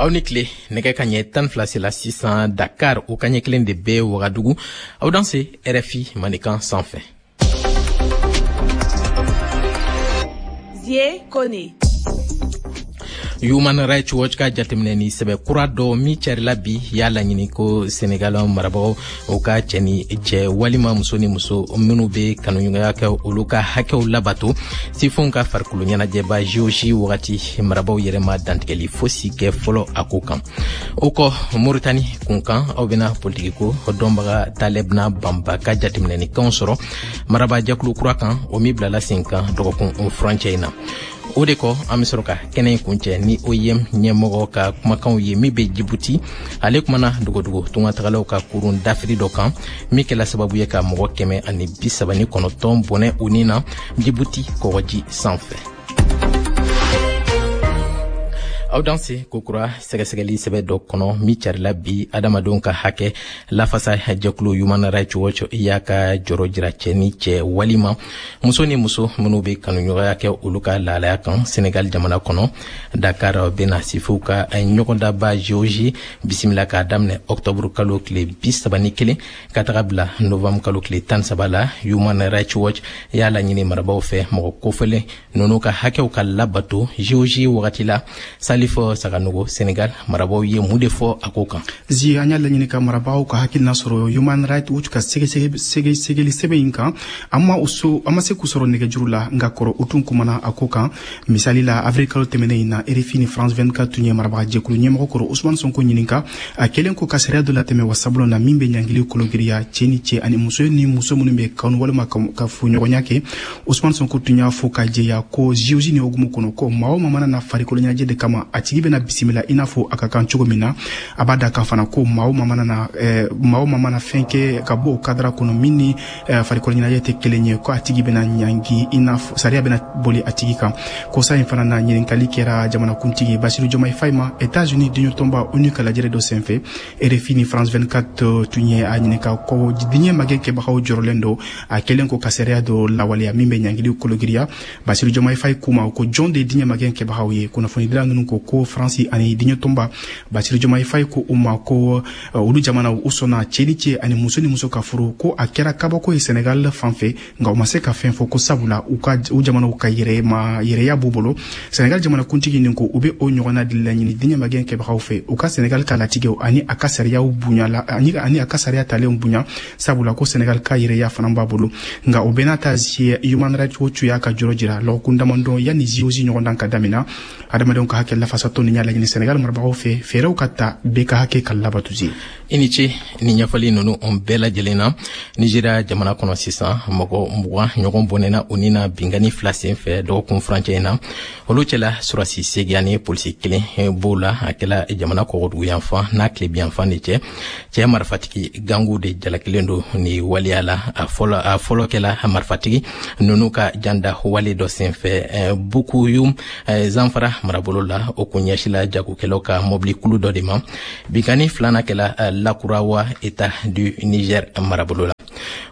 Aw ni tile. Nɛgɛ ka ɲɛ 12 sela sisan Dakar, o ka ɲɛ kelen de bɛ Wagadugu. Aw danse RFI Mandenkan sanfɛ. Zie Kone. Human Rights Watch ka jateminɛ ni sɛbɛ kura dɔ min carila bi y'a laɲini ko Senegal marabagaw o ka cɛ ni cɛ walima muso ni muso minnu bɛ kanuɲɔgɔnya kɛ, olu ka hakɛw labato. Sifinw ka farikolo ɲɛnajɛba JOJ wagati, marabaw yɛrɛ ma dantigɛli fosi kɛ fɔlɔ a ko kan. O kɔ, Moritani kunkan, aw bɛna politikiko dɔnbaga Talɛbina Banba ka jateminɛnikanw sɔrɔ marabajɛkulu kura kan, o min bilala sen kan dɔgɔkun furancɛ in na. O de kɔ, an bɛ sɔrɔ ka kɛnɛ in kuncɛ ni OIM ɲɛmɔgɔ ka kumakanw ye min bɛ Jibuti. Ale kumana dogodogo tungatagalaw ka kurun dafiri dɔ kan min kɛla sababu ye ka mɔgɔ 139 bɔnɛ u ni na Jibuti kɔgɔji sanfɛ. Aw danse kokura. Sɛgɛsɛgɛli sɛbɛ dɔ kɔnɔ min carila bi, adamadenw ka hakɛ lafasa jɛkulu Human Rights Watch y'a ka jɔrɔ jira cɛ ni cɛ walima muso ni muso minnu bɛ kanuɲɔgɔnya kɛ, olu ka lahalaya kan Senegal jamana kɔnɔ. Dakar bɛna sifinw ka ɲɔgɔndaba JOJ bisimila k'a daminɛ ɔktɔburu kalo tile 31 ka taga bila novanburu kalo tile 13 la. Human Rights Watch y'a laɲini marabaw fɛ, mɔgɔ kofɔlen ninnu ka hakɛw ka labato JOJ wagati la. Salifo Saganogo, Senegal marabaw ye mun de fɔ a ko kan? Zi, an y'a laɲini ka marabagaw ka hakilina sɔrɔ Human Rights Watch ka sɛgɛsɛgɛli sɛbɛn in kan. An ma so, an ma se k'u sɔrɔ nɛgɛjuru la, nka kɔrɔ u tun kumana a ko kan. Misali la, avril kalo tɛmɛnen in na, RFI ni France 24 tun ye marabaga jɛkulu ɲɛmɔgɔ kɔrɔ Ousmane Sonko ɲininka, a kɛlen ko ka sariya dɔ latɛmɛ wasabulon na min bɛ ɲangili kologiriya cɛ ni cɛ ani muso ni muso minnu bɛ kanu walima ka furuɲɔgɔnya kɛ. Ousmane Sonko tun y'a fɔ ka jɛya ko JOJ ni hukumu kɔnɔ, ko maa o maa mana na farikolo ɲɛnajɛ de kama, a tigi bɛna bisimila i n'a fɔ a ka kan cogo min na. A b'a da kan fana ko maa o maa mana fɛn kɛ ka bɔ o cadre kɔnɔ min ni farikolo ɲɛnajɛ tɛ kelen ye, ko a tigi bɛna ɲangi, i n'a fɔ sariya bɛna boli a tigi kan. Kosa in fana na, ɲininkali kɛra jamanakuntigi Basiru Diomaye Faye ma États-Unis diɲɛtɔnba ONU ka lajɛrɛ dɔ senfɛ. RFI ni France 24 tun ye a ɲininka ko diɲɛ magɛn kɛbagaw jɔrɔlen don a kɛlen ko ka sariya dɔ lawaleya min bɛ ɲangili kologiriya. Basiru Diomaye Faye k'u ma ko jɔn de ye diɲɛ magɛn kɛbagaw ye? Kunnafonidila ninnu ko ko Faransi ani diɲɛtɔnba. Basiru Diomaye Faye ko u ma ko olu jamanaw u sɔnna cɛ ni cɛ ani muso ni muso ka furu, ko a kɛra kabako ye Senegal fan fɛ, nka u ma se ka fɛn fɔ, ko sabula u ka u jamanaw ka yɛrɛma yɛrɛya b'u bolo. Senegal jamanakuntigi nin ko u bɛ o ɲɔgɔnna de laɲini diɲɛ magɛn kɛbagaw fɛ, u ka Senegal ka latigɛw ani a ka sariyaw bonya la ani a ka sariya talenw bonya, sabula ko Senegal ka yɛrɛya fana b'a bolo. Nka o bɛɛ n'a ta, Human Rights Watch y'a ka jɔrɔ jira lɔgɔkun damadɔ yanni JOJ ɲɔgɔndan ka daminɛ. Adamadenw ka hakɛ lafasatɔ nin y'a laɲini Senegal marabagaw fɛ, fɛɛrɛw ka ta bɛɛ ka hakɛ ka labato. I ni ce ni ɲɛfɔli ninnu bɛɛ lajɛlen na. Nizeriya jamana kɔnɔ sisan, mɔgɔ 20 ɲɔgɔn bɔnɛna u ni na binkanni fila sen fɛ dɔgɔkun furancɛ in na. Olu cɛla, surasi 8 ani polisi kelen b'o la. A kɛla jamana kɔgɔdugu yanfan n'a tilebiyanfan de cɛ. Cɛ marifatigi gangu de jalakilen don ni waleya la. A fɔlɔ kɛla marifatigi ninnu ka janda wale dɔ sen fɛ Bukuyum, Zanfara marabolo la. O kun ɲɛsila jagokɛlaw ka mɔbili kulu dɔ de ma. Binkanni filanan kɛla Lakurawa, État du Niger marabolo la.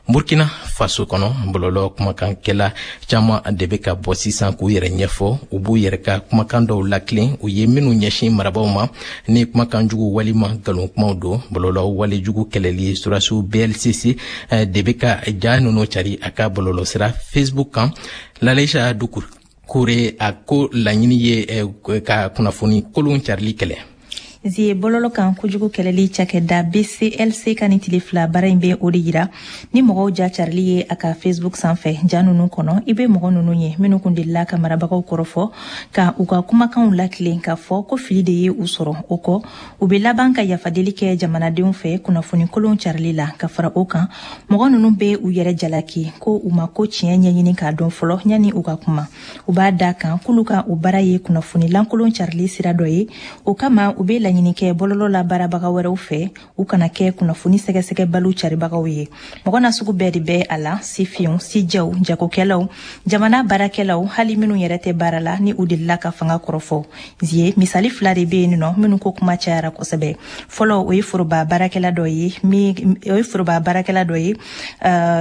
Burkina Faso kɔnɔ, bɔlɔlɔ kumakankɛla caman de bɛ ka bɔ sisan k'u yɛrɛ ɲɛfɔ. U b'u yɛrɛ ka kumakan dɔw lakilen, u ye minnu ɲɛsin marabaw ma ni kumakan jugu walima nkalon kumaw don. Bɔlɔlɔ walejugu kɛlɛli surasiw BLCC de bɛ ka ja ninnu cari a ka bɔlɔlɔ sira Facebook kan. Laleisa Dukure, a ko laɲini ye ka kunnafoni kolon carili kɛlɛ. Zie, bɔlɔlɔ kan kojugu kɛlɛli cakɛda BCLC ka ni tile 2 baara in bɛ o de yira ni mɔgɔw ja carili ye a ka Facebook sanfɛ. Ja nunu kɔnɔ, i be mɔgɔ nunu ye minnu kun delila ka marabagaw kɔrɔfɔ ka u ka kumakanw lakilen k'a fɔ ko fili de ye u sɔrɔ. O kɔ, u be laban ka yafadeli kɛ jamanadenw fɛ kunnafoni kolon carili la. Ka fara o kan, mɔgɔ nunu be u yɛrɛ jalaki ko u ma ko tiɲɛ ɲɛɲini k'a dɔn fɔlɔ yanni u ka kuma. U b'a da kan k'olu ka o baara ye kunnafoni lankolon carili sira dɔ ye. O kama, u be laɲini kɛ bɔlɔlɔ la baarabaga wɛrɛw fɛ, u kana kɛ kunnafoni sɛgɛsɛgɛbaliw caribagaw ye. Mɔgɔ na sugu bɛɛ de bɛ a la: sifinw, sijɛw, jagokɛlaw, jamana baarakɛlaw, hali minnu yɛrɛ tɛ baara la ni u delila ka fanga kɔrɔfɔ. Zie, misali fila de be yen nɔ minnu ko kuma cayara kosɛbɛ. Fɔlɔ, o ye foroba baarakɛla dɔ ye min o ye foroba baarakɛla dɔ ye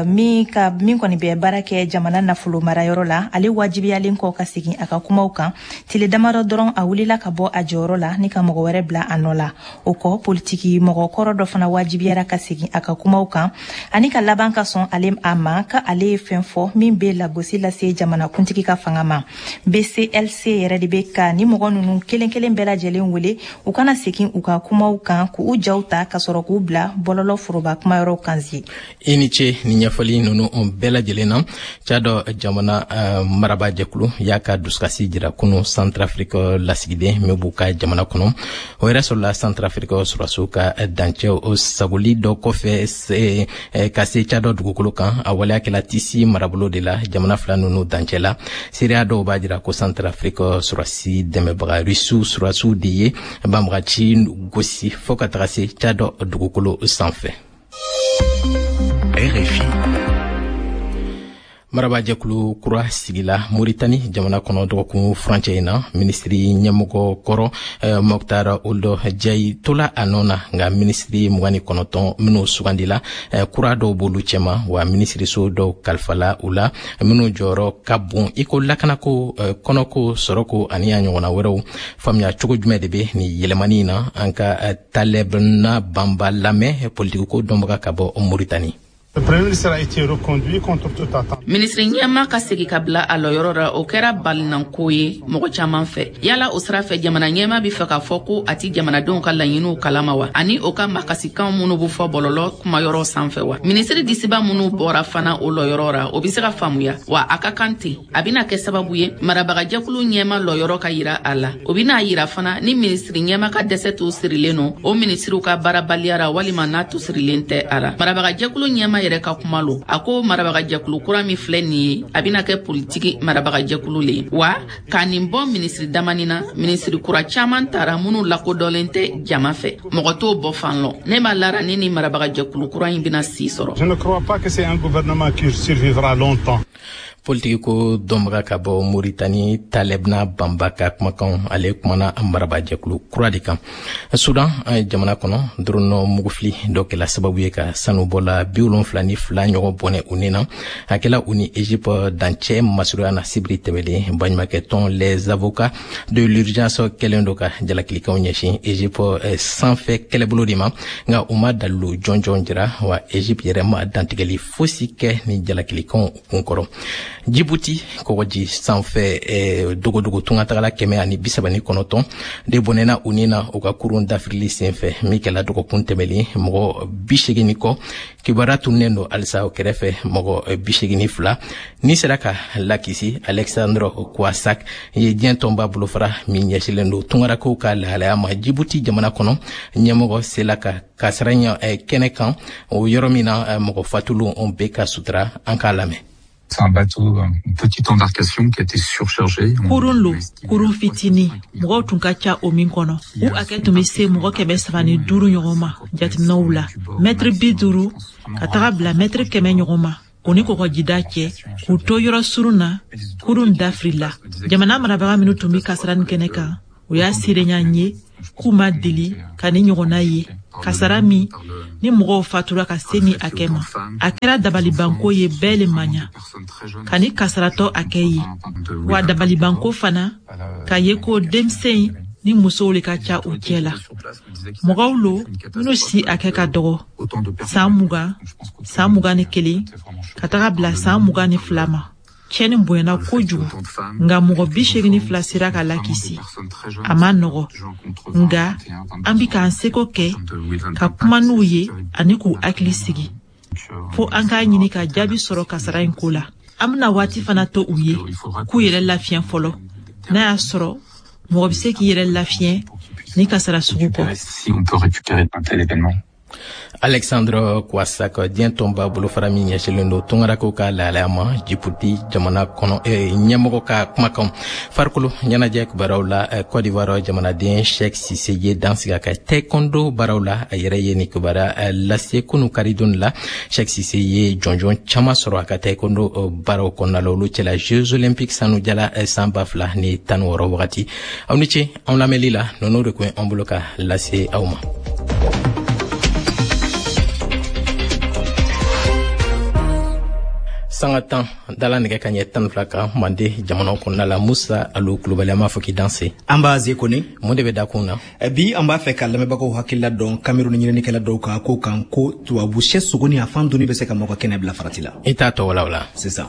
min ka min kɔni bɛ baara kɛ jamana nafolo marayɔrɔ la. Ale wajibiyalen kɔ ka segin a ka kumaw kan, tile damadɔ dɔrɔn, a wulila ka bɔ a jɔyɔrɔ la ni ka mɔgɔ wɛrɛ bila. bila a nɔ la. O kɔ, politiki mɔgɔ kɔrɔ dɔ fana wajibiyara ka segin a ka kumaw kan ani ka laban ka sɔn ale a ma ka ale ye fɛn fɔ min bɛ lagosi lase jamanakuntigi ka fanga ma. BCLC yɛrɛ de bɛ ka ni mɔgɔ ninnu kelen kelen bɛɛ lajɛlen wele u kana segin u ka kumaw kan, k'u jaw ta ka sɔrɔ k'u bila bɔlɔlɔ foroba kumayɔrɔw kan zi. I ni ce ni ɲɛfɔli ninnu bɛɛ lajɛlen na. Tchad jamana marabajɛkulu y'a ka dusukasi jira kunu Centrafrique lasigiden min b'u ka jamana kɔnɔ. O yɛrɛ sɔrɔla Centrafrique sɔrɔdasiw ka dancɛw sagoli dɔ kɔfɛ ka se Tchad dugukolo kan. A waleya kɛla Tisi marabolo de la, jamana fila ninnu dancɛ la. Seereya dɔw b'a jira ko Centrafrique sɔrɔdasi dɛmɛbaga Rusiw sɔrɔdasiw de ye banbagaci gosi fɔɔ ka taga se Tchad dugukolo sanfɛ. RFI. Marabajɛkulu kura sigila Moritani jamana kɔnɔ dɔgɔkun furancɛ in na. Minisiri ɲɛmɔgɔ kɔrɔ Moctar Ould Djay tola a nɔ na, nka minisiri 29 minnu sugandila, kura dɔw b'olu cɛma, wa minisiriso dɔw kalifala u la minnu jɔyɔrɔ ka bon, i ko lakanako, kɔnɔko, sɔrɔko ani a ɲɔgɔnna wɛrɛw. Faamuya cogo jumɛn de bɛ nin yɛlɛmani in na? An ka Talebna Banba lamɛn, politikiko dɔnbaga ka bɔ Moritani. Minisiri ɲɛma ka segi ka bila a lɔyɔrɔ ra, o kɛra balinanko ye mɔgɔ caman fɛ. Yala o sira fɛ, jamana ɲɛma bɛ fɛ k'a fɔ ko a ti jamanadenw ka laɲiniw kalama wa, ani o ka makasikanw minnu bɛ fɔ bɔlɔlɔ kumayɔrɔ sanfɛ wa? Minisiri disiba minnu bɔra fana o lɔyɔrɔ ra, o bɛ se ka faamuya wa, a ka kan ten. A bɛna kɛ sababu ye marabagajɛkulu ɲɛma lɔyɔrɔ ka yira a la. O bɛna yira fana ni minisiri ɲɛma ka dɛsɛ to sirilen no o minisiriw ka baarabaliya ra, walima n'a to sirilen tɛ a la. Marabagajɛkulu ɲɛma yɛrɛ ka kuma lo, a ko marabagajɛkulu kura min filɛ nin ye, a bɛna kɛ politiki marabagajɛkulu le ye wa. Ka nin bɔ minisiri damani na, minisiri kura caman tara minnu lakodɔnlen tɛ jama fɛ, mɔgɔ t'o bɔ fan lɔ. Ne ma lara ni marabagajɛkulu kura in bɛna si sɔrɔ. Je ne crois pas que c'est un gouvernement qui survivra longtemps. Politiki ko dɔnbaga ka bɔ Moritani, Talebna Banba ka kumakan. Ale kumana marabajɛkulu kura de kan. Sudan jamana kɔnɔ, drone mugufili dɔ kɛla sababu ye ka sanubɔla 72 ɲɔgɔn bɔnɛ u ni na. A kɛla u ni Egypte dancɛ masurunya na sibiri tɛmɛlen. Baɲumakɛ tɔn Les Avocats de l'Urgence kɛlen do ka jalakilikanw ɲɛsin Egypte sanfɛ kɛlɛbolo de ma, nka u ma dalilu jɔnjɔn jira, wa Egypte yɛrɛ ma dantigɛli fosi kɛ ni jalakilikanw kunkɔrɔ. Djibouti kɔgɔji sanfɛ, dogodogo tungatagala 139 de bɔnɛna u ni na u ka kurun dafirili senfɛ min kɛla dɔgɔkun tɛmɛlen. Mɔgɔ 80 kɔ kibaruya tununnen don halisa. O kɛrɛfɛ, mɔgɔ 82 ni sera ka lakisi. Alexandre Kouassak ye diɲɛ tɔnba bolofara min ɲɛsilen don tungarakow ka lahalaya ma Djibouti jamana kɔnɔ ɲɛmɔgɔ sela ka kasara kɛnɛ kan, o yɔrɔ min na mɔgɔ fatulenw bɛ ka sutura. An k'a lamɛn. C'est un bateau, une petite embarcation qui a été surchargée. Kurun lo, kurun fitini, mɔgɔw tun ka ca o min kɔnɔ. U hakɛ tun bɛ se mɔgɔ 305 ɲɔgɔn ma jateminɛw la. Mɛtiri 50 ka taga bila mɛtiri 100 ɲɔgɔn ma, o ni kɔgɔjida cɛ, k'u to yɔrɔ surun na, kurun dafirila. Jamana marabaga minnu tun bɛ kasara nin kɛnɛ kan, o y'a seereya n ye k'u ma deli ka ni ɲɔgɔnna ye, kasara min ni mɔgɔw fatura ka se ni hakɛ ma. A kɛra dabalibanko ye, bɛɛ le ma ɲa ka ni kasaratɔ hakɛ ye wa, dabalibanko fana ka ye ko denmisɛn ni musow le ka ca u cɛ la. Mɔgɔw lo minnu si hakɛ ka dɔgɔ, san 20, san 21 ka taga bila san 22 ma. Tiɲɛni bonyana kojugu, nka mɔgɔ 82 sera ka lakisi. A ma nɔgɔ, nka an bi k'an seko kɛ ka kuma n'u ye ani k'u hakili sigi, fo an k'a ɲini ka jaabi sɔrɔ kasara in ko la. An bɛna waati fana to u ye k'u yɛrɛ lafiɲɛ fɔlɔ, n'a y'a sɔrɔ mɔgɔ bɛ se k'i yɛrɛ lafiɲɛ ni kasara sugu kɔ. Alexandre Kouassak, diɲɛ tɔnba bolofara min ɲɛsilen don tungarakaw ka lahalaya ma Djibouti jamana kɔnɔ ɲɛmɔgɔ ka kumakan. Farikolo ɲɛnajɛ kibaruyaw la, Côte d'Ivoire jamanaden Cheick Cissé ye dansigi a ka taekwondo baaraw la. A yɛrɛ ye nin kibaruya lase kunu karidon la. Cheick Cissé ye jɔnjɔn caman sɔrɔ a ka taekwondo baaraw kɔnɔna la, olu cɛla Jeux Olympiques sanujala san 2016 wagati. Aw ni ce anw lamɛnli la. Ninnu de kun ye an bolo ka lase aw ma. Sanga 10 dala nɛgɛ ka ɲɛ 12 kan Mande jamana kɔnɔna la. Musa Alu Kulubali, an b'a fɔ k'i danse. An b'a ze kɔni. Mun de bɛ dakun na? Bi, an b'a fɛ ka lamɛnbagaw hakilila dɔn Cameroun ɲininikɛla dɔw kan ko kan ko tubabu sɛ sogo ni a fan dunni bɛ se ka mɔgɔ kɛnɛ bila farati la. I t'a tɔ walawala. Sisan,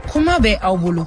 kuma bɛ aw bolo.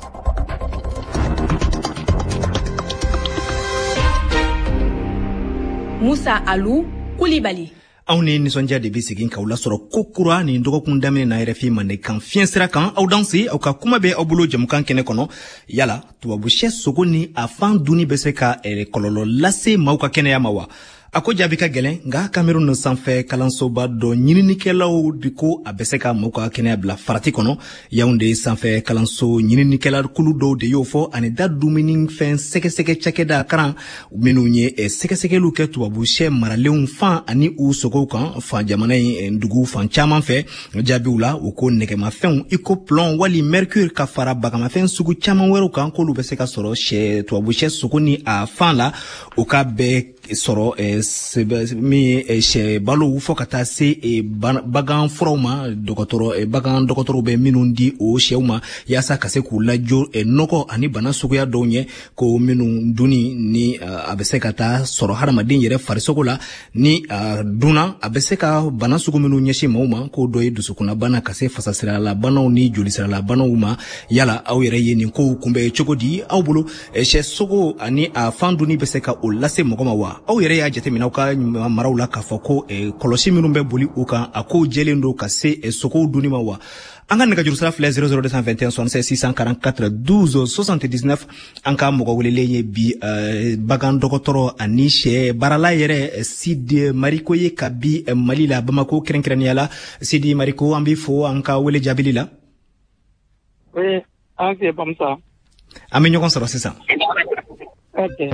Musa Alu Kulibali. Anw ni nisɔndiya de bɛ segin k'aw lasɔrɔ ko kura nin dɔgɔkun daminɛ na RFI Mandenkan fiɲɛ sira kan. Aw danse, aw ka kuma bɛ aw bolo jamukan kɛnɛ kɔnɔ. Yala tubabu sɛ sogo ni a fan dunni bɛ se ka kɔlɔlɔ lase maaw ka kɛnɛya ma wa? A ko jaabi ka gɛlɛn, nka Cameroun sanfɛ kalansoba dɔ ɲininikɛlaw de ko a bɛ se ka maaw ka kɛnɛya bila farati kɔnɔ. Yaounde sanfɛ kalanso ɲininikɛla kulu dɔw de y'o fɔ, ani da dumunifɛn sɛgɛsɛgɛ cakɛda karan minnu ye sɛgɛsɛgɛliw kɛ tubabu sɛ maralenw fan ani u sogow kan fan jamana in dugu fan caman fɛ. Jaabiw la, u ko nɛgɛmafɛnw i ko plomb wali mercure ka fara bagamafɛn sugu caman wɛrɛw kan, k'olu bɛ se ka sɔrɔ sɛ tubabu sɛ sogo ni a fan la. O ka bɛɛ sɔrɔ min ye sɛ balow fɔ ka taa se bagan furaw ma, dɔgɔtɔrɔ bagan dɔgɔtɔrɔw bɛ minnu di o sɛw ma yaasa ka se k'u lajɔ nɔgɔ ani bana suguya dɔw ɲɛ, ko minnu dunni ni a bɛ se ka taa sɔrɔ hadamaden yɛrɛ farisogo la, ni dunna, a bɛ se ka bana sugu minnu ɲɛsin maaw ma, k'o dɔ ye dusukunnabana ka se fasasiralabanaw ni jolisiralabanaw ma. Yala aw yɛrɛ ye nin kow kunbɛn cogo di? Aw bolo, sɛ sogo ani a fan dunni bɛ se ka o lase mɔgɔ ma wa? Aw yɛrɛ y'a jateminɛ aw ka maraw la k'a fɔ ko kɔlɔsi minnu bɛ boli u kan, a kow jɛlen don ka se sogow dunni ma wa? An ka nɛgɛjuru sira filɛ: 00221 76 644 12 79. An ka mɔgɔ welelen ye bi bagan dɔgɔtɔrɔ ani sɛ baarala yɛrɛ, Sidi Mariko ye ka bi Mali la, Bamako kɛrɛnkɛrɛnnenya la. Sidi Mariko, an b'i fo an ka wele jaabili la. Oui, an fɛ Bamusa. An bɛ ɲɔgɔn sɔrɔ sisan. Ok.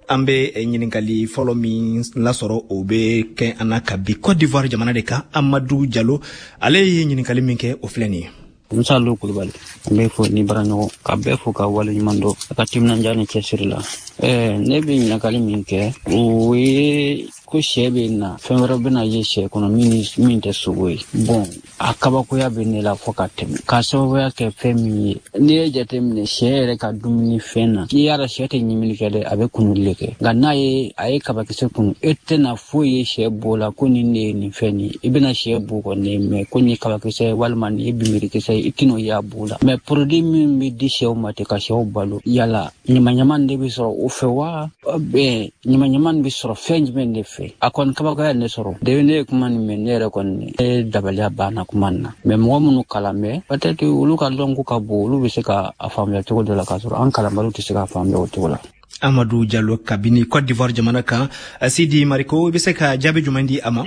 An bɛ ɲininkali fɔlɔ min lasɔrɔ, o bɛ kɛ an na ka bi Côte d'Ivoire jamana de kan. Amadu Jalo, ale ye ɲininkali min kɛ, o filɛ nin ye. Musa Lo Kulubali, n bɛ fo ni baaraɲɔgɔn ka bɛɛ fo ka waleɲuman dɔn a ka timinandiya ni cɛsiri la. Ne bɛ ɲininkali min kɛ, o ye ko sɛ bɛ na, fɛn wɛrɛ bɛna ye sɛ kɔnɔ min ni min tɛ sogo ye. Bon, a kabakoya bɛ ne la fo ka tɛmɛ, k'a sababuya kɛ fɛn min ye. N'i ye jateminɛ sɛ yɛrɛ ka dumuni fɛn na, n'i y'a dɔn sɛ tɛ ɲimini kɛ dɛ, a bɛ kunuli de kɛ. Nka n'a ye a ye kabakisɛ kunu, e tɛna foyi ye sɛ bo la ko nin de ye nin fɛn nin ye. I bɛna sɛ bo kɔni mɛ ko nin ye kabakisɛ walima nin ye binbirikisɛ ye, i tɛn'o ye a bo la. Mɛ produit min bɛ di sɛw ma ten ka sɛw balo, yala ɲamaɲama de bɛ sɔrɔ o fɛ wa? Ɲamaɲama bɛ sɔrɔ fɛn jumɛn de fɛ? A kɔni kabakoya ne sɔrɔ de. Ne ye kuma nin mɛn, ne yɛrɛ kɔni ne dabaliya banna kuma nin na. Mɛ mɔgɔ minnu kalan bɛ, peut-être olu ka dɔnko ka bon, olu bɛ se ka a faamuya cogo dɔ la, k'a sɔrɔ an kalanbaliw tɛ se k'a faamuya o cogo la. Amadu Jalo kabini Côte d'Ivoire jamana kan. Sidi Mariko, i bɛ se ka jaabi jumɛn di a ma?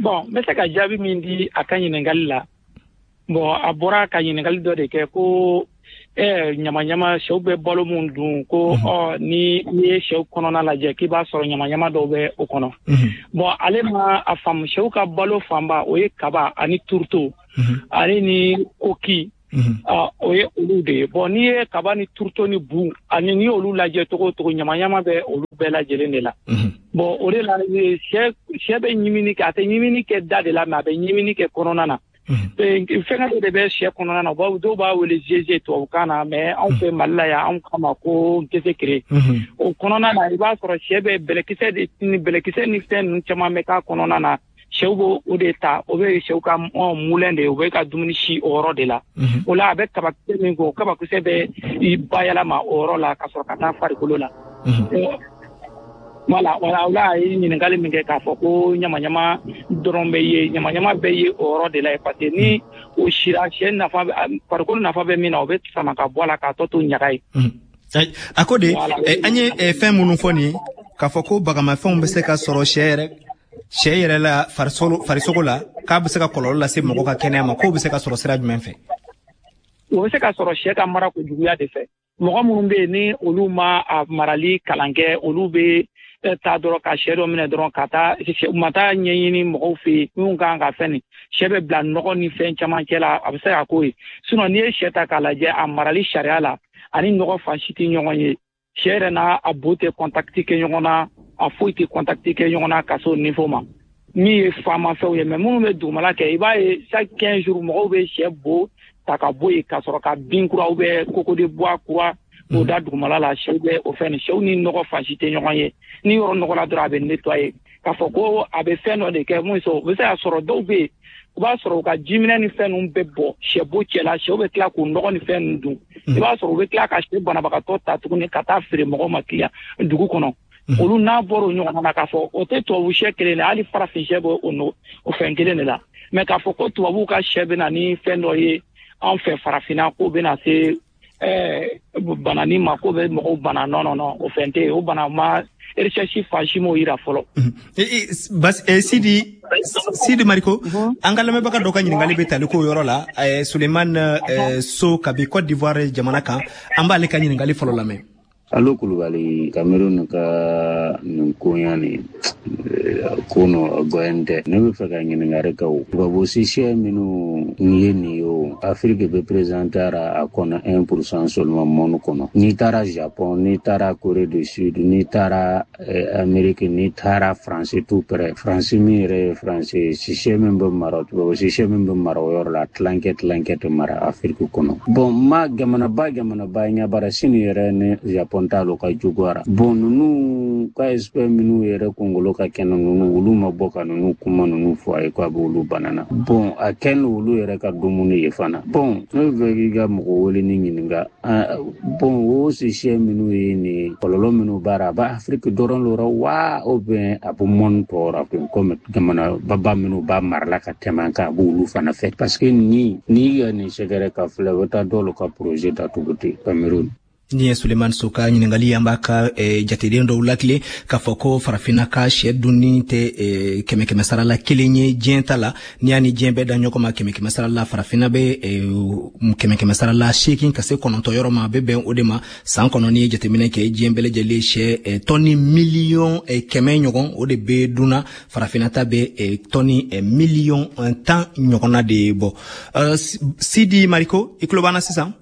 Bon, n bɛ se ka jaabi min di a ka ɲininkali la, bon, a bɔra ka ɲininkali dɔ de kɛ ko ɲamaɲama, sɛw bɛ balo mun dun, ko ɔ ni n'i ye sɛw kɔnɔna lajɛ k'i b'a sɔrɔ ɲamaɲama dɔw bɛ o kɔnɔ. Bon, ale ma a faamu, sɛw ka balo fanba o ye kaba ani tourteau ale ni koki, o ye olu de ye. Bon, n'i ye kaba ni tourteau ni bu ani n'i y'olu lajɛ cogo o cogo, ɲamaɲama bɛ olu bɛɛ lajɛlen de la. Bon, o de la sɛ bɛ ɲimini kɛ, a tɛ ɲimini kɛ da de la, mais a bɛ ɲimini kɛ kɔnɔna na. Fɛngɛ dɔ de bɛ sɛ kɔnɔna na, dɔw b'a wele GG tubabukan na, mais anw fɛ Mali la yan, anw k'a ma ko gesekere. O kɔnɔna na, i b'a sɔrɔ sɛ bɛ bɛlɛkisɛ de ni bɛlɛkisɛ ni fɛn ninnu caman bɛ k'a kɔnɔna na. Sɛw b'o o de ta, o bɛ sɛw ka moulin de ye, o bɛ ka dumuni si o yɔrɔ de la. O la, a bɛ kabakisɛ min kɛ, o kabakisɛ bɛ i bayɛlɛma o yɔrɔ la ka sɔrɔ ka taa farikolo la. Voilà, o la a ye ɲininkali min kɛ k'a fɔ ko ɲamaɲama dɔrɔn bɛ ye, ɲamaɲama bɛ ye o yɔrɔ de la yen, parce que ni o sira, sɛ nafa, farikolo nafa bɛ min na, o bɛ sama ka bɔ a la k'a tɔ to ɲaga ye. A ko de an ye fɛn minnu fɔ nin, k'a fɔ ko bagamafɛnw bɛ se ka sɔrɔ sɛ yɛrɛ la farisogo la, k'a bɛ se ka kɔlɔlɔ lase mɔgɔ ka kɛnɛya ma, k'o bɛ se ka sɔrɔ sira jumɛn fɛ? O bɛ se ka sɔrɔ sɛ ka mara kojuguya de fɛ. Mɔgɔ minnu bɛ yen ni olu ma a marali kalan kɛ, olu bɛ taa dɔrɔn ka sɛ dɔ minɛ dɔrɔn ka taa, u ma taa ɲɛɲini mɔgɔw fɛ yen minnu kan ka fɛn nin. Sɛ bɛ bila nɔgɔ ni fɛn caman cɛ la, a bɛ se ka k'o ye. Sinon, n'i ye sɛ ta k'a lajɛ a marali sariya la, ani nɔgɔ fan si tɛ ɲɔgɔn ye. Sɛ yɛrɛ n'a a bo tɛ contact kɛ ɲɔgɔn na. A foyi tɛ contact kɛ ɲɔgɔn na ka se o niveau ma. Min ye faamafɛnw ye, mais minnu bɛ dugumala kɛ, i b'a ye chaque 15 jours mɔgɔw bɛ sɛ bo ta ka bɔ yen ka sɔrɔ ka bin kura ou bien coco de bois kura k'o da dugumala la. Sɛw bɛ o fɛn nin, sɛw ni nɔgɔ fan si tɛ ɲɔgɔn ye. Ni yɔrɔ nɔgɔ la dɔrɔn, a bɛ nettoyer. K'a fɔ ko a bɛ fɛn dɔ de kɛ mun o bɛ se ka sɔrɔ. Dɔw bɛ yen, u b'a sɔrɔ u ka jiminɛ ni fɛn ninnu bɛ bɔ sɛbo cɛ la, sɛw bɛ tila k'u nɔgɔ ni fɛn ninnu dun. I b'a sɔrɔ u bɛ tila ka sɛ banabagatɔ ta tuguni ka taa feere mɔgɔw ma kiliyan dugu kɔnɔ. Olu n'a bɔra o ɲɔgɔnna na, k'a fɔ o tɛ tubabu sɛ kelen de, hali farafin sɛ bɛ o fɛn kelen de la. Mais k'a fɔ ko tubabuw ka sɛ bɛ na ni fɛn dɔ ye anw fɛ farafinna, k'o bɛna se banani ma, k'o bɛ mɔgɔw bana, non, non, non, o fɛn tɛ yen. O bana ma recherche fan si m'o yira fɔlɔ. Sidi Mariko, an ka lamɛnbaga dɔ ka ɲininkali bɛ tali k'o yɔrɔ la, Suleiman So kabi Côte d'Ivoire jamana kan. An b'ale ka ɲininkali fɔlɔ lamɛn. Allo Kulubali, Cameroun ka nin koɲa nin ko no goyen tɛ. Ne bɛ fɛ ka ɲininkali kɛ, o tubabu sisɛ minnu ye nin ye, o Afrique bɛ présenter a kɔnɔ 1% seulement monde kɔnɔ. N'i taara Japon, n'i taara Corée du Sud, n'i taara Amérique, n'i taara France, tout près France min yɛrɛ ye France, sisɛ min bɛ mara, tubabu sisɛ min bɛ mara o yɔrɔ la, tilankɛ tilankɛ tɛ mara Afrique kɔnɔ. Bon, ma jamanaba jamanaba ɲɛbara Sini yɛrɛ ni Japon t'alo ka juguyara. Bon, ninnu ka expert minnu yɛrɛ kunkolo ka kɛnɛ, ninnu olu ma bɔ ka ninnu kuma ninnu fɔ a ye ko a bɛ olu banana. Bon, a kɛ ni olu yɛrɛ ka dumuni ye fana. Bon, ne bɛ fɛ k'i ka mɔgɔ wele ni ɲininka. Bon, o sisɛ minnu ye nin kɔlɔlɔ minnu b'a, a b'a Afrique dɔrɔn lora wa, ou bien a bɛ monde tɔw ra komi jamana baba minnu b'a marala ka tɛmɛ an kan, a b'olu fana fɛ? Parce que ni n'i ka nin sɛgɛrɛ ka filɛ, u bɛ taa dɔw ka projet datugu ten Cameroun. Ni ye Suleiman So ka ɲininkali, an b'a ka jateden dɔw lakile k'a fɔ ko farafinna ka sɛ dunni tɛ kɛmɛ kɛmɛ sara la kelen ye diɲɛ ta la. N'i y'a ni diɲɛ bɛɛ da ɲɔgɔn ma, kɛmɛ kɛmɛ sara la, farafinna bɛ kɛmɛ kɛmɛ sara la 8 ka se 9 yɔrɔ ma, a bɛ bɛn o de ma san kɔnɔ. N'i ye jateminɛ kɛ, diɲɛ bɛɛ lajɛlen sɛ tɔni miliyɔn 100 ɲɔgɔn, o de bɛ dunna. Farafinna ta bɛ tɔni miliyɔn 10 ɲɔgɔnna de bɔ. Sidi Mariko, i tulo b'an na sisan?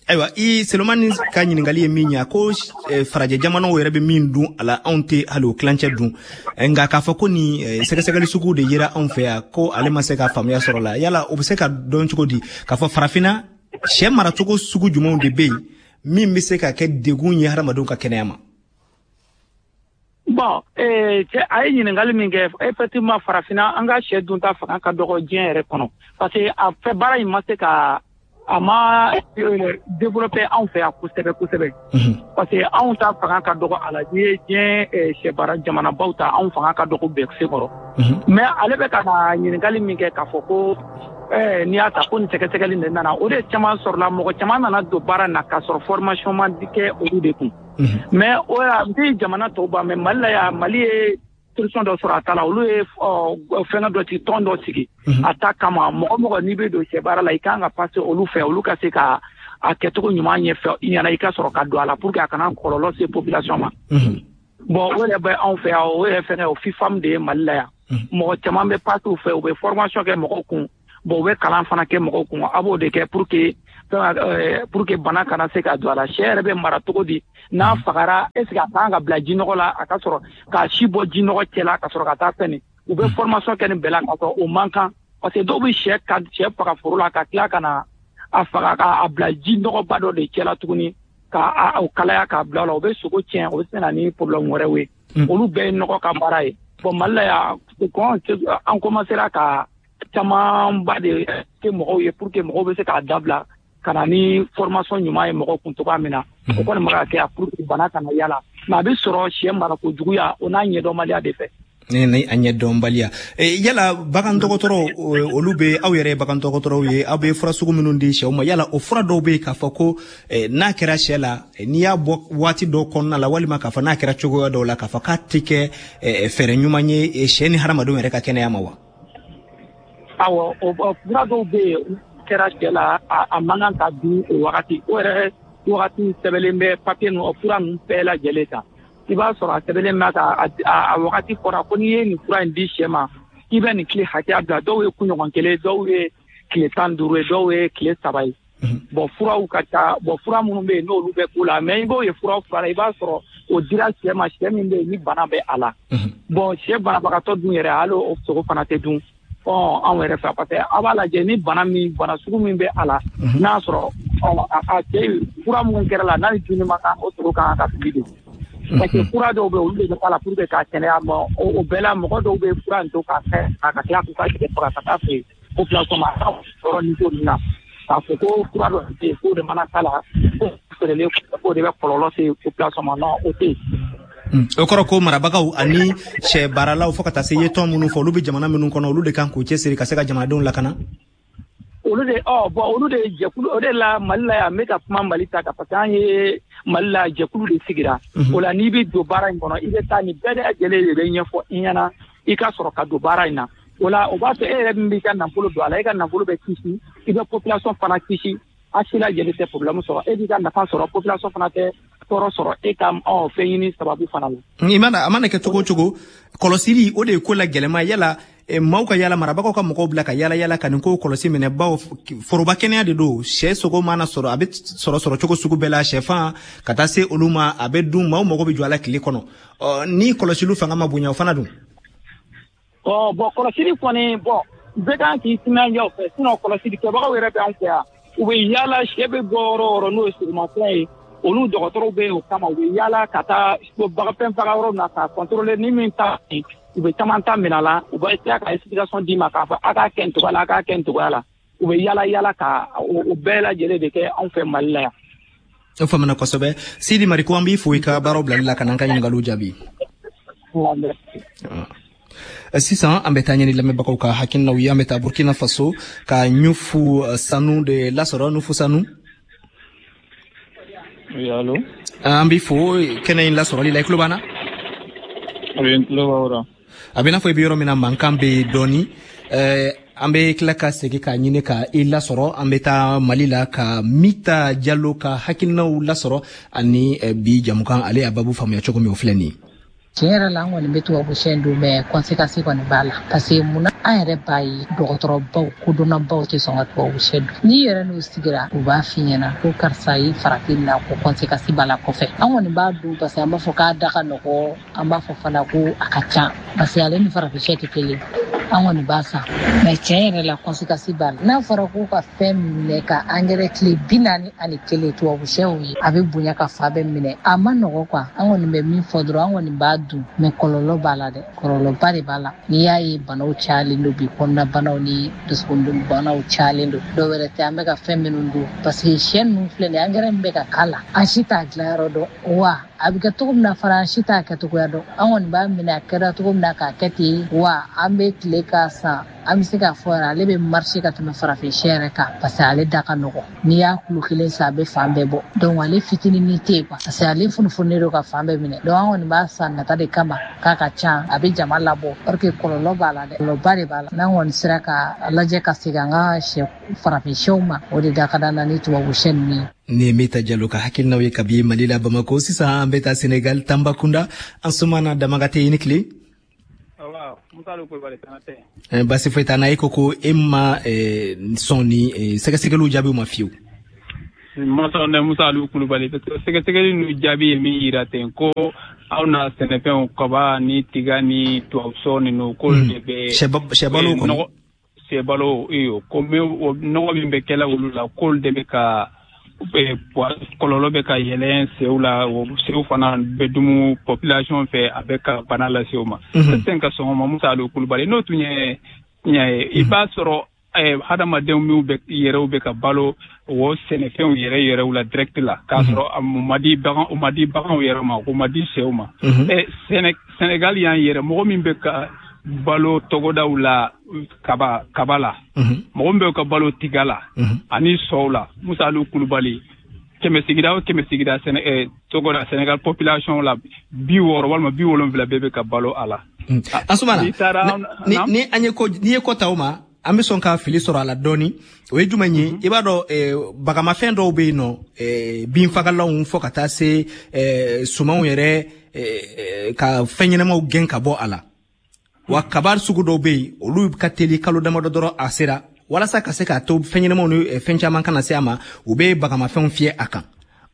Ayiwa, i Selomani ka ɲininkali ye min ye, a ko farajɛ jamanaw yɛrɛ bɛ min dun a la, anw tɛ hali o tilancɛ dun. Nka k'a fɔ ko nin sɛgɛsɛgɛli sugu de yera anw fɛ yan, ko ale ma se ka faamuya sɔrɔ la. Yala o bɛ se ka dɔn cogo di k'a fɔ farafinna sɛ maracogo sugu jumɛnw de bɛ yen min bɛ se ka kɛ degun ye hadamadenw ka kɛnɛya ma? Bon, cɛ, a ye ɲininkali min kɛ, effectivement, farafinna an ka sɛ dunta fanga ka dɔgɔ diɲɛ yɛrɛ kɔnɔ, parce que a fɛ baara in ma se ka a ma développé anw fɛ yan kosɛbɛ kosɛbɛ, parce que anw ta fanga ka dɔgɔ a la. N'i ye diɲɛ sɛbara jamanabaw ta, anw fanga ka dɔgɔ bɛɛ se kɔrɔ. Mais ale bɛ ka na ɲininkali min kɛ k'a fɔ ko n'i y'a ta ko nin sɛgɛsɛgɛli de nana, o de caman sɔrɔla, mɔgɔ caman nana don baara na k'a sɔrɔ formation ma kɛ olu de kun. Mais o y'a n tɛ jamana tɔw ban, mais Mali la yan, Mali ye solution dɔ sɔrɔ a ta la. Olu ye fɛngɛ dɔ sigi, tɔn dɔ sigi a ta kama. Mɔgɔ mɔgɔ n'i bɛ don sɛ baara la, i kan ka passer olu fɛ, olu ka se ka a kɛcogo ɲuman ɲɛfɔ i ɲɛna, i ka sɔrɔ ka don a la pour que a kana kɔlɔlɔ se population ma. Bon, o yɛrɛ bɛ anw fɛ yan, o yɛrɛ fɛngɛ o FIFAM de ye Mali la yan. Mɔgɔ caman bɛ passer u fɛ, u bɛ formation kɛ mɔgɔw kun. Bon, u bɛ kalan fana kɛ mɔgɔw kun. A b'o de kɛ pour que bana kana se ka don a la. Sɛ yɛrɛ bɛ mara cogo di? N'a fagara, est ce que a kan ka bila jinɔgɔ la, a ka sɔrɔ k'a si bɔ jinɔgɔ cɛ la ka sɔrɔ ka taa fɛn nin? U bɛ formation kɛ nin bɛɛ la k'a sɔrɔ o man kan, parce que dɔw bɛ sɛ ka sɛ faga foro la ka tila ka na a faga k'a bila jinɔgɔba dɔ de cɛ la tuguni, ka o kalaya k'a bila o la, o bɛ sogo tiɲɛ, o bɛ se na ni problème wɛrɛw ye. Olu bɛɛ ye nɔgɔ ka baara ye. Bon, Mali la yan, an commencera ka camanba de kɛ mɔgɔw ye pour que mɔgɔw bɛ se k'a dabila ka na ni formation ɲuman ye mɔgɔw kun cogoya min na. O kɔni ma ka kɛ pour que bana kana yala, mais a bɛ sɔrɔ sɛ marako juguya o n'a ɲɛdɔnbaliya de fɛ. Ni a ɲɛdɔnbaliya. Yala bagan dɔgɔtɔrɔw, olu bɛ, aw yɛrɛ ye bagan dɔgɔtɔrɔw ye, aw bɛ fura sugu minnu di sɛw ma, yala o fura dɔw bɛ yen k'a fɔ ko n'a kɛra sɛ la, n'i y'a bɔ waati dɔw kɔnɔna la, walima k'a fɔ n'a kɛra cogoya dɔw la, k'a fɔ k'a tɛ kɛ fɛɛrɛ ɲuman ye sɛ ni hadamadenw yɛrɛ ka kɛnɛya ma wa? Awɔ, o fura dɔw bɛ yen, kɛra sɛ la, a man kan ka dun o wagati. O yɛrɛ wagati sɛbɛnlen bɛ papiye ninnu, o fura ninnu bɛɛ lajɛlen kan. I b'a sɔrɔ a sɛbɛnlen bɛ ka a wagati fɔra ko n'i ye nin fura in di sɛ ma, i bɛ nin tile hakɛya bila. Dɔw ye kunɲɔgɔn kelen, dɔw ye tile 15 ye, dɔw ye tile 3 ye. Bon, furaw ka ca. Bon, fura minnu bɛ yen, n'olu bɛ k'u la, mais i b'o ye fura fura la, i b'a sɔrɔ O dira sɛ ma, sɛ min bɛ yen ni bana bɛ a la. Bon, sɛ banabagatɔ dun yɛrɛ, hali o sogo fana tɛ dun anw yɛrɛ fɛ, parce que a b'a lajɛ ni bana min, bana sugu min bɛ a la, n'a sɔrɔ a cɛ fura mun kɛra la, n'a ni dumuni ma kan, o sogo kan ka fili de. Parce que fura dɔw bɛ, olu de bɛ k'a la pour que k'a kɛnɛya. Bon, o bɛɛ la, mɔgɔ dɔw bɛ fura in to k'a kɛ ka tila k'u ka sɛ faga ka taa feere population ma. A ka yɔrɔ ni ko ninnu na, k'a fɔ ko fura dɔ bɛ yen k'o de mana k'a la, ko feerelen k'o de bɛ kɔlɔlɔ se population ma, non, o tɛ yen. O kɔrɔ ko marabagaw ani sɛ baaralaw, fo ka taa se ye tɔn minnu fɔ, olu bɛ jamana minnu kɔnɔ, olu de kan k'u cɛsiri ka se ka jamanadenw lakana. Olu de, ɔ bon, olu de ye jɛkulu o de la Mali la yan. N bɛ ka kuma Mali ta kan, parce que an ye Mali la, jɛkulu de sigira. O la, n'i bɛ don baara in kɔnɔ, i bɛ taa, nin bɛɛ lajɛlen de bɛ ɲɛfɔ i ɲɛna i ka sɔrɔ ka don baara in na. O la, o b'a to e yɛrɛ min b'i ka nafolo don a la, e ka nafolo bɛ kisi, i bɛ population fana kisi. A si lajɛlen tɛ problème sɔrɔ, e b'i ka nafa sɔrɔ, population fana tɛ tɔɔrɔ sɔrɔ e ka fɛn ɲini sababu fana la. I mana, a mana kɛ cogo o cogo, kɔlɔsili, o de ye ko la gɛlɛma. Yala maaw ka yala, marabagaw ka mɔgɔw bila ka yala yala ka nin ko kɔlɔsi minɛ, bawo foroba kɛnɛya de don. Sɛ sogo mana sɔrɔ, a bɛ sɔrɔ sɔrɔ cogo sugu bɛɛ la, sɛfan ka taa se olu ma, a bɛ dun, maaw mago bɛ jɔ a la tile kɔnɔ. Ni kɔlɔsiliw fanga ma bonya, o fana dun? Ɔ bon, kɔlɔsili kɔni, bon, bɛɛ kan k'i timinandiya o fɛ. Sinon kɔlɔsili kɛbagaw yɛrɛ bɛ an fɛ yan, u bɛ yaala, sɛ bɛ bɔ yɔrɔ o yɔrɔ, n'o ye sɔgɔmafɛn ye, olu dɔgɔtɔrɔw bɛ yen o kama. U bɛ yaala ka taa fɛn faga yɔrɔ na k'a contrôler. Ni min ta, u bɛ caman ta minɛ a la, u bɛ tila ka explication d'i ma k'a fɔ a k'a kɛ nin cogoya la, a k'a kɛ nin cogoya la. U bɛ yaala yaala ka o bɛɛ lajɛlen de kɛ anw fɛ Mali la yan. O faamuna kosɛbɛ. Sidi Mariko, an b'i fo i ka baaraw bilali la ka n'an ka ɲininkaliw jaabi. Sisan an bɛ taa ɲini lamɛnbagaw ka hakilinaw ye. An bɛ taa Burkina Faso ka Ɲufu Sanu de lasɔrɔ. Ɲufu Sanu. Oui, allo. An b'i fo kɛnɛ in lasɔrɔli la. I tulo b'an na? Oui, n tulo b'aw la. A bɛ n'a fɔ i bɛ yɔrɔ min na, mankan bɛ yen dɔɔni. An bɛ tila ka segin k'a ɲini ka i lasɔrɔ. An bɛ taa Mali la ka Mita Jalo ka hakilinaw lasɔrɔ ani bi jamukan, ale y'a babu faamuya cogo min, o filɛ nin ye. Tiɲɛ yɛrɛ la, an kɔni bɛ tubabu sɛ dun, mais conséquence kɔni b'a la, parce que munna, an yɛrɛ b'a ye, dɔgɔtɔrɔbaw, kodɔnnabaw tɛ sɔn ka tubabu sɛ dun. N'i yɛrɛ n'u sigira, u b'a f'i ɲɛna ko karisa ye farati na, ko conséquence b'a la kɔfɛ. An kɔni b'a dun parce que an b'a fɔ k'a da ka nɔgɔ, an b'a fɔ fana ko a ka ca, parce que ale ni farafin sɛ tɛ kelen. An kɔni b'a san, mais tiɲɛ yɛrɛ la, conséquence b'a la. N'a fɔra ko ka fɛn minɛ ka angɛrɛ tile 41, tubabu sɛw ye, a bɛ bonya ka fa bɛɛ minɛ, a ma nɔgɔ quoi. An kɔni bɛ min fɔ dɔrɔn, an kɔni b'a dun, mais kɔlɔlɔ b'a la dɛ, kɔlɔlɔba de b'a la. N'i y'a ye banaw cayalen don bi, kɔnɔna banaw ni dusukun banaw cayalen don, dɔw wɛrɛ tɛ, an bɛ ka fɛn minnu dun, parce que sɛ ninnu filɛ nin ye, angɛrɛ min bɛ ka k'a la, an si t'a dilanyɔrɔ dɔn wa a bɛ kɛ cogo min na fana, an si t'a kɛcogoya dɔn. An kɔni b'a minɛ a kɛra cogo min na k'a kɛ ten wa. An bɛ tile k'a san, an bɛ se k'a fɔ yɛrɛ, ale bɛ marché ka tɛmɛ farafin sɛ yɛrɛ kan, parce que ale da ka nɔgɔn. N'i y'a kulo kelen san, a bɛ fan bɛɛ bɔ. Donc ale fitinin tɛ yen quoi, parce que ale funufununen don ka fan bɛɛ minɛ. Donc an kɔni b'a san nata de kama, k'a ka ca, a bɛ jama labɔ, or que kɔlɔlɔ b'a la dɛ, kɔlɔlɔba de b'a la. N'an kɔni sera ka lajɛ ka segin an ka sɛ farafin sɛw ma, o de da ka d'an na ni tubabu sɛ ninnu ye. Ni Mita Jalo ka hakilinaw ye kabi Mali la, Bamako. Sisan an bɛ taa Senegal, Tambakunda. Ansumana Damagate, i ni tile. Basi foyi t'an na. E ko ko e ma sɔn ni sɛgɛsɛgɛliw jaabiw ma fiyewu. Ma sɔn dɛ, Musa Aliou Kulubali, parce que sɛgɛsɛgɛli ninnu jaabi ye min yira ten ko aw na sɛnɛfɛnw, kaba ni tiga ni tubabusɔ ninnu, k'olu de bɛ sɛbalo kɔnɔ. Sɛbalo iyo, ko nɔgɔ min bɛ kɛla olu la, k'olu de bɛ ka kɔlɔlɔ bɛ ka yɛlɛn sɛw la, sɛw fana bɛ dumu population fɛ, a bɛ ka bana lase u ma. Tɛ ka sɔn o ma, Musa Aliou Kulubali. N'o tun ye tiɲɛ ye, i b'a sɔrɔ hadamadenw minnu bɛ yɛrɛw bɛ ka balo o sɛnɛfɛnw yɛrɛ yɛrɛw la direct la, k'a sɔrɔ o ma di bagan, o ma di baganw yɛrɛ ma, o ma di sɛw ma. Sénégal y'an yɛrɛ, mɔgɔ min bɛ ka balo togodaw la kaba la, mɔgɔ min bɛ ka balo tiga la ani sɔw la, Musa Aliou Kulubali, 100 sigida o 100 sigida togoda Sénégal population la, 60 walima 70 bɛɛ bɛ ka balo a la. Ansumana, ni an ye ko, n'i ye ko ta o ma, an bɛ sɔn ka fili sɔrɔ a la dɔɔni. O ye jumɛn ye? I b'a dɔn, bagamafɛn dɔw bɛ yen nɔ, binfagalanw, fo ka taa se sumanw yɛrɛ ka fɛn ɲɛnamaw gɛn ka bɔ a la wa. Kaba sugu dɔw bɛ yen, olu ka teli, kalo damadɔ dɔrɔn a sera. Walasa ka se k'a to fɛn ɲɛnamaw ni fɛn caman kana se a ma, u bɛ bagamafɛnw fiyɛ a kan.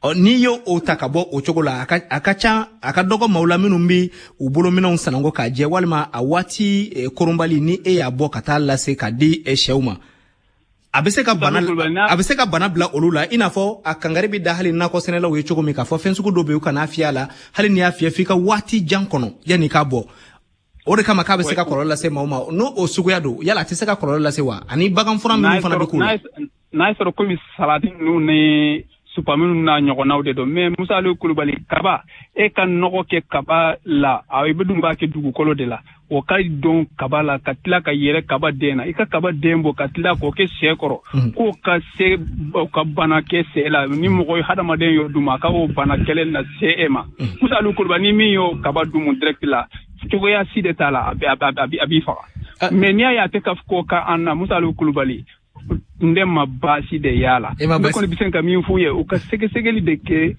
Ɔ, n'i y'o o ta ka bɔ o cogo la, a ka ca, a ka dɔgɔ maaw la minnu bɛ u bolominɛnw sananko k'a jɛ, walima a waati koronbali, ni e y'a bɔ ka taa lase ka di sɛw ma, a bɛ se ka bana bila olu la. I n'a fɔ a kangari bɛ da hali nakɔ sɛnɛlaw ye cogo min, k'a fɔ fɛn sugu dɔ bɛ yen, u kan'a fiyɛ a la, hali n'i y'a fiyɛ, f'i ka waati jan kɔnɔ yanni i k'a bɔ. O de kama k'a bɛ se ka kɔlɔlɔ lase maaw ma. N'o o suguya don, yala a tɛ se ka kɔlɔlɔ lase wa? Ani bagan fura minnu fana bɛ k'u la. N'a ye sɔrɔ komi salati ninnu ni supame ninnu n'a ɲɔgɔnnaw de don. Mais Musa Aliyu Kulubali, kaba, e ka nɔgɔ kɛ kaba la, a i bɛ dun b'a kɛ dugukolo de la, o ka don kaba la ka tila ka yɛrɛ kaba den na, i ka kaba den bɔ ka tila k'o kɛ sɛ kɔrɔ, k'o ka se ka bana kɛ sɛ la, ni mɔgɔ ye hadamaden y'o dun, a ka o bana kɛlɛ na se e ma. Musa Aliyu Kulubali, ni min y'o kaba dumu direct la, cogoya si de t'a la, a b'i faga. Mais n'i y'a ye a tɛ ka ko ka an na, Musa Aliyu Kulubali, n de ma baasi de y'a la. Ne kɔni bɛ se ka min f'u ye, u ka sɛgɛsɛgɛli de kɛ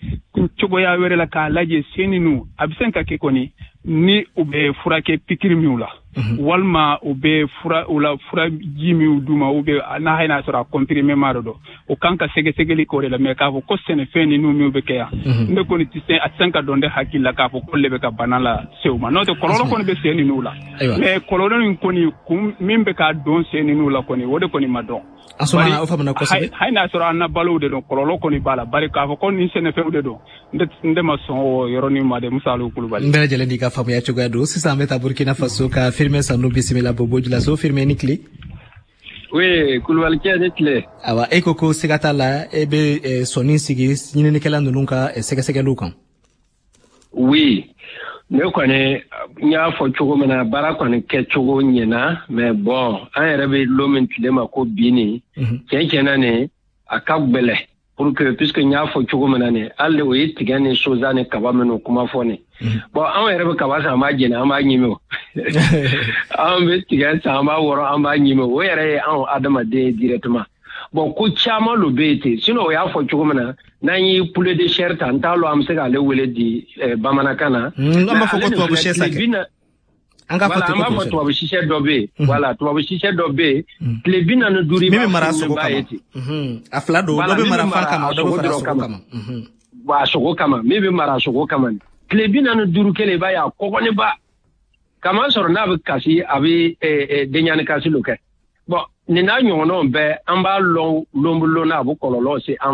cogoya wɛrɛ la k'a lajɛ sen ninnu a bɛ se ka kɛ kɔni ni u bɛ furakɛ pikiri minw la, walima u bɛ fura u la, furaji minw d'u ma, ou bien n'a hali n'a sɔrɔ a comprimé ma de don, o kan ka sɛgɛsɛgɛli k'o de la. Mais k'a fɔ ko sɛnɛfɛn ninnu minw bɛ kɛ yan, ne kɔni tɛ se, a tɛ se ka dɔn ne hakili la k'a fɔ ko le bɛ ka bana la se u ma. N'o tɛ, kɔlɔlɔ kɔni bɛ sen ninnu la, mais kɔlɔlɔ nin kɔni kun min bɛ k'a don sen ninnu la kɔni, o de kɔni ma dɔn. Asumana, o faamuna kosɛbɛ. Hali n'a sɔrɔ an na balow de don, kɔlɔlɔ kɔni b'a la, bari k'a fɔ ko nin sɛnɛfɛnw de don, n tɛ ma sɔn o yɔrɔnin ma dɛ, Musa Aliyu Kulubali. N bɛɛ lajɛlen n'i ka faamuya cogoya don. Sisan an bɛ taa Burkina Faso ka Firmin Sanu bisimila Bobo Julaso. Firmin, ni tile. Oui, Kulubalikɛ, ni tile. Awa, e ko ko siga t'a la, e bɛ sɔnni sigi ɲininikɛla ninnu ka sɛgɛsɛgɛliw kan. Oui, ne kɔni n y'a fɔ cogo min na, baara kɔni kɛcogo ɲɛna, mais bon, an yɛrɛ bɛ lon min tile ma ko bi nin, tiɲɛ tiɲɛna nin a ka gwɛlɛ pour que, puisque n y'a fɔ cogo min na nin, hali o ye tigɛ ni soja ni kaba minnu kuma fɔ nin. Bon, anw yɛrɛ bɛ kaba san, an b'a jeni, an b'a ɲimi o. Anw bɛ tigɛ san, an b'a wɔrɔ, an b'a ɲimi o. Yɛrɛ ye anw adamaden ye directement. Bon, ko caman lo bɛ yen ten. Sinon o y'a fɔ cogo min na, n'an ye poulet de chair ta, n t'a lɔn an bɛ se k'ale wele di bamanankan na. An b'a fɔ ko tubabu sɛ sa kɛ. An k'a fɔ, an b'a fɔ tubabu sisɛ dɔ bɛ yen. Voilà, tubabu sisɛ dɔ bɛ yen, tile 45 min bɛ mara sogo kama. A fila don, dɔ bɛ mara fan kama, dɔ bɛ mara sogo kama. Bon, a sogo kama, min bɛ mara sogo kama, tile 45 kelen, i b'a ye a kɔgɔnniba kama sɔrɔ n'a bɛ kasi, a bɛ denɲani kasi lo kɛ. Bon, nin n'a ɲɔgɔnnaw bɛɛ, an b'a lɔn lonbolon na, a bɛ kɔlɔlɔ se an